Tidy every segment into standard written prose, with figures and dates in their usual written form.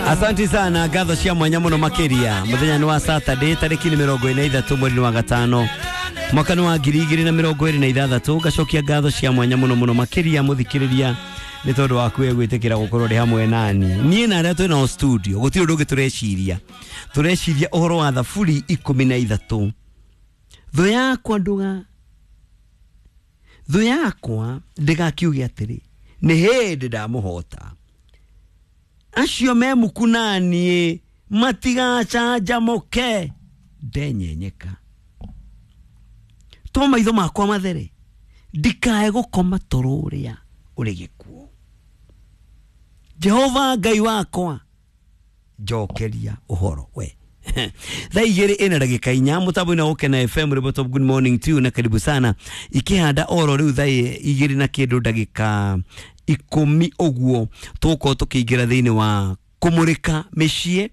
Asante sana ngatho cia mwanya muno makiria. Muthenya ni wa Saturday tariki ni 43 mweri wa gatano mwaka ni wa 2026. Ngacokia ngatho cia mwanya muno muno makiria muthikiriria ni tondu waku we gwitikira gukorwo ri hamwe nani nie na aria twi nao studio. Gutiri undu ungi tureciria, tureciria uhoro wa thaburi 13. Thu yakwa nduga, thu yakwa ndigakiuge atiri ni hindi ndamuhota. Acio me muku nanie matigacanjamuke ndenyenyeka. Tuma maitho makwa mathere ndikae gukoma toro uria uri gikuo. Jehova Ngai wakwa njokeria uhoro we. Thaa igĩrĩ ĩna ndagĩka inya mũtambo-inĩ wa Gũkena FM rĩmwe. Top good morning to you na karibu sana. Ikĩhanda oro rĩu thaa igĩrĩ na kĩndũ ndagĩka 10 ũguo tũgũkorwo tũkĩingĩra thĩinĩ wa kũmũrĩka mĩciĩ.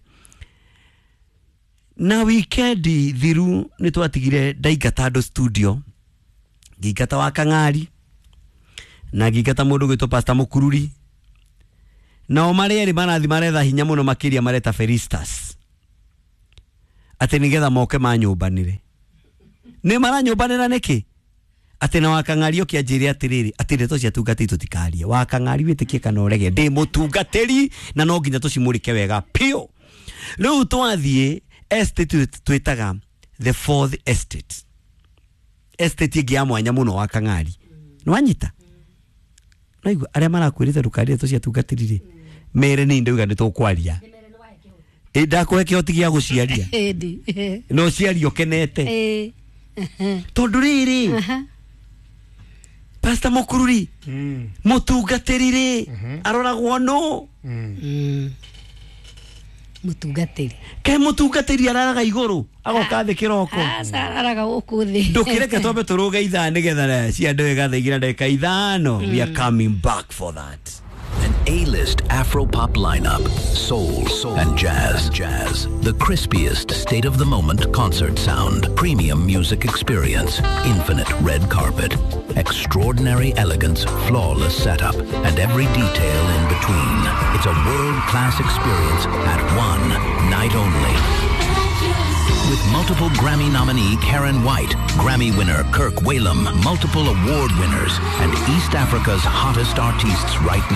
Na wikendi thiru nĩ twatigire ndaingata andũ studio, ngĩingata wa Kang'ari na ngĩingata mũndũ gwĩtwo Pastor Mũkururi, nao marĩa erĩ marathi maretha hinya mũno makĩria mareta Felistas atĩ nĩgetha moke manyũmbanĩre. Nĩ maranyũmbanĩra nĩkĩ? Atĩ na Wakang'ari ũkĩanjĩre atĩrĩrĩ atĩ ndeto cia tungatĩri tũtikarie. Wakang'ari wĩtĩkie kana ũrege, ndĩ mũtungatĩri na no nginya tũcimũrĩke wega piũ. Rĩu twathiĩ estate twĩtaga the fourth estate, estate ĩngĩ ya mwanya mũno Wakang'ari. Nĩwanyita? Naigua arĩa marakwĩrĩte ndũkarie ndeto cia tungatĩri rĩ, mere nĩ ndauga nĩ tũkwaria. Ĩ ndakũhe kĩhoti gĩa gũciaria no ciaria ũkenete tondũ rĩrĩ Pastor Mũkururi mũtungatĩri rĩ aroragwo nũ? Mũtungatĩri kaĩ mũtungatĩri araraga igũrũ agoka thĩ kĩroko? Aca araraga gũkũ thĩ. Ndũkĩreke twambe tũrũge ithaa nĩgetha ciandũ wega thaa igĩrĩ na ndagĩka 5. We are coming back for that. An A-list Afro-pop lineup, soul, and jazz. The crispiest state-of-the-moment concert sound, premium music experience, infinite red carpet, extraordinary elegance, flawless setup, and every detail in between. It's a world-class experience at one night only. With multiple Grammy nominee Karen White, Grammy winner Kirk Whalum, multiple award winners, and East Africa's hottest artists right now.